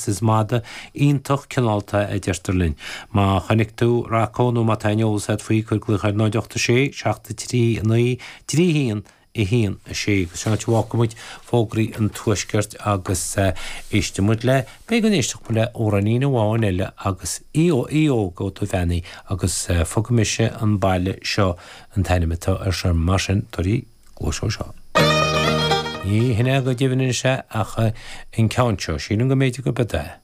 Is madadh iontach cineálta é a deirtear linn. Má chonaic tú Rocco nó má tá aon eolas agat faoi, cuir glaoch ar 0 8 6 7 3 9 3 1 1 6 agus sin áit a bhfágfaidh muid fógraí an Tuaiscirt agus éistfidh muid le, b'fhéidir go n-éistfeadh muid le amhráinín amháin eile agus Aodh Óg Ó Duibheannaigh agus Fágfaidh Mise an Baile Seo an t-ainm atá air seo mar sin tabhair cluas dó seo. Ní hin é go deimhin anois é ach an ceann seo, sílim go mb'fhéidir gurb é.